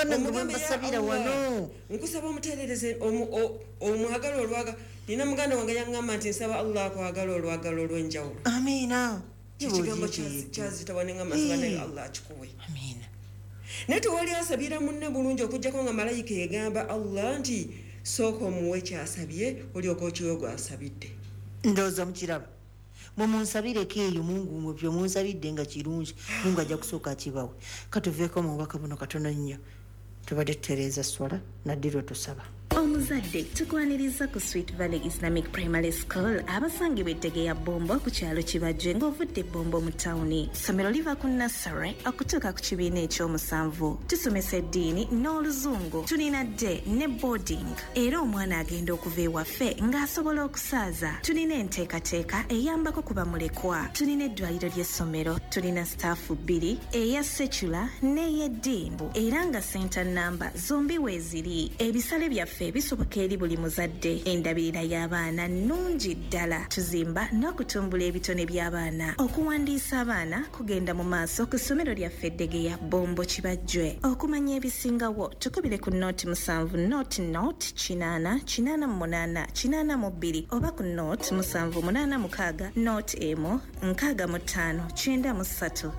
Omugambe, "Ya Mbasabira Allah, wano. Nkusaba omuterereze omwagala olwaga." Nina muganda wange yaŋŋamba nti, "Nsaba Allah akwagala olwagala olw'enjawulo." Amiina. Kyekigambo kyazitawa neŋŋamba, nsaba naye Allah akikuwe. Amiina. Naye tewali asabira munne bulungi okugjako nga malayika egamba Allah nti, "Sooka omuwe kyasabye, olyoka okiwe gwasabidde." Ndowooza mukiraba, mwemunsabireko eyo. Mungu mwe byemunsabidde nga kirungi, Mungu ajja kusooka akibawe. Katuveeko mu bubaka buno katono nnyo. Tubadde tutereeza swala naddira tusaba. Omuzadde, tukwaniriza ku Sweet Valley Islamic Primary School, abasangibwa eddege ya Bombo ku kyalo Kibajje ng'ovudde Bombo mu tawuni. Ssomero liva ku nursery okutuuka ku kibiina ekyomusanvu. Tusomesa eddiini n'Oluzungu. Tulina day ne boarding, era omwana agenda okuva ewaffe ng'asobola okusaaza. Tulina enteekateeka eyambako ku bamulekwa. Tulina eddwaliro ly'essomero. Tulina staff bbiri, eya secular n'ey'eddiini, era nga center namba zombi weeziri. Ebisale byaffe bisoboka eri buli muzadde. Endabirira y'abaana nnungi ddala. Tuzimba n'okutumbula ebitone by'abaana. Okuwandiisa abaana kugenda mu maaso ku ssomero lyaffe Eddegeya, Bombo, Kibajjwe. Okumanya ebisingawo, tukubire ku 07 00 80 88 82 oba ku 07 86 01 65 93.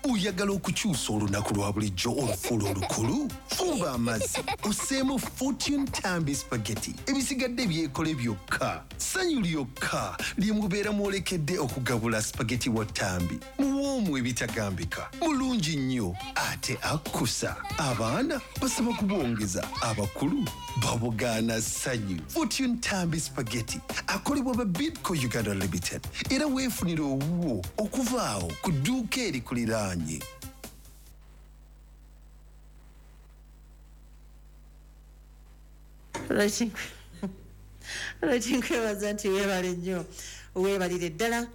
Oyagala okukyusa olunaku lwa bulijjo olufuula olukulu? Fumba amazzi, osseemu Fortune Tambi Spaghetti, ebisigadde byekole byokka. Ssanyu lyokka lye mubeera mwolekedde okugabula spaghetti wa Tambi. Muwoomu ebitagambika, mulungi nnyo ate akkusa. Abaana basaba kubwongeza, abakulu babugaana ssanyu. Fortune Tambi Spaghetti akolebwa ba Bidco Uganda Limited, era weefunire owuwo okuva awo ku dduuka erikuliraanye. Lwaki nkwebaza nti weebale nnyo, weebalire ddala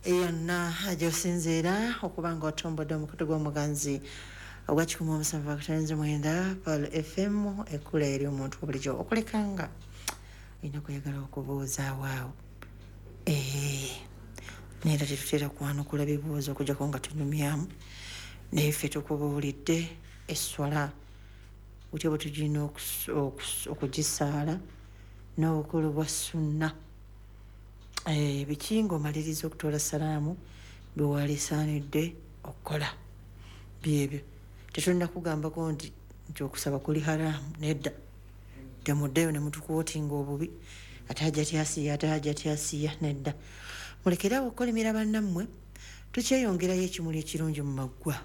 yonna gyosinzeera okuba nga otombodde omukutu gw'omuganzi ogwa 107.9 Pearl FM, ekkula eri omuntu bulijjo. Okulekanga olina kuyagala okubuuza awaawo, neera tetutera kwanukula bibuuzo okujjako nga tunyumyamu, naye ffe tukubuulidde esswala butya bwe tugirina okugisaala n'obukulu bwa sunna. Biki ng'omaliriza okutoola salaamu bwewalisaanidde okukola? Byebyo. Tetulina kugambako nti okusaba kuli haramu, nedda. Temuddeyo ne mutukwotinga obubi, ate Hajjati Asiya, ate Hajjati Asiya, nedda. Mulekereawo okukolimira bannammwe. Tukyeyongerayo ekimuli ekirungi mu maggwa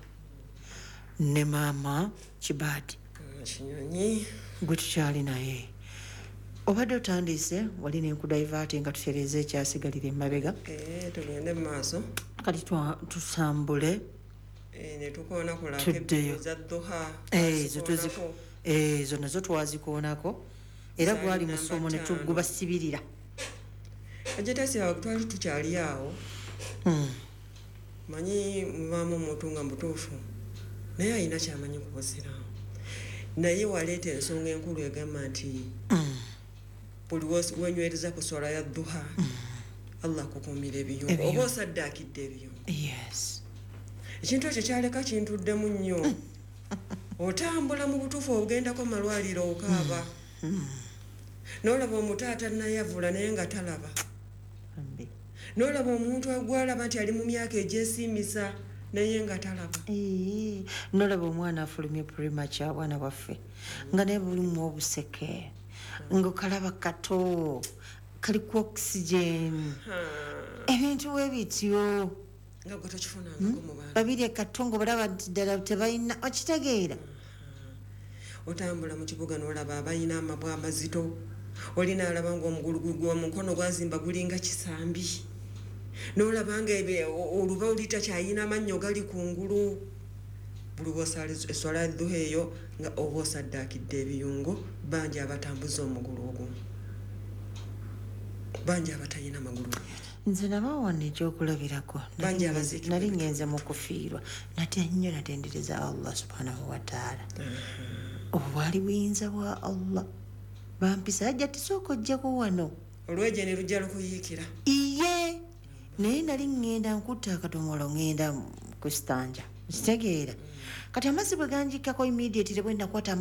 ne maama Kibaadi. Kinyonyi. Gwe tukyali naye. Obadde otandise wali nenkudiverti nga tutereeza ekyasigalira emabega. Eh, tugende mu maaso. Kati tutambule. Eh, ne tukoona ku Tuddeyo. za duha. Ezo Twazikoonako. Ezo nazo twazikoonako era Zaali gwali namba musomo ne 5. tugubasibirira. Hajjati Asiya, twali tukyali awo. Manyi mubaamu omuntu nga mutuufu naye alina kyamanyi ku busiraamu, naye waleeta ensonga enkulu egamba nti buli wenywereza ku swala ya duha, Allah akukuumira ebiyungo Ebiyungo. oba osaddaakidde ebiyungo. Yes. Ekintu ekyo kyaleka kintuddemu nnyo. Otambula mu butuufu, ogendako malwaliro, okaaba n'olaba omuto atannayavula naye nga talaba. Bambi. N'olaba omuntu gwalaba nti ali mu myaka egyesiimisa naye nga talaba. Ee, nolaba omwana afulumye premature, abaana baffe nga naye bulimu obuseke, ngaokalaba kato kali ku oxygen, ebintu we bityo. Nga gwe tokifunangako mu baana. Babiri kato nga olaba nti ddala tebalina, okitegeera? Otambula mu kibuga n'olaba abalina amabwa amazito, olina alaba nga omugulu omukono gwazimba gulinga kisambi, n'olaba nga oluba oli takyayina amannyo gali kungulu. Buli bwosala eswala ya duha eyo nga oba osaddaakidde ebiyungo. Bangi abatambuza omugulu ogumu, bangi abatalina magulu. Nze nabawano ekyokulabirako. Bangi abaziikibwa. Nali ngenze mu kufiirwa, natya nnyo, natendereza Allah subhanahu wataala. Obwo bwali buyinza bwa Allah. Bampisa, ajja tisooka ojjako wano. Olweje ne lujja lukuyiikira. Iye, naye nali ŋŋenda nkutta akadomolo, ŋŋenda ku stanja. Kitegeera, kati amazzi bwe ganjikako, immediately bwe nakwata amazzi.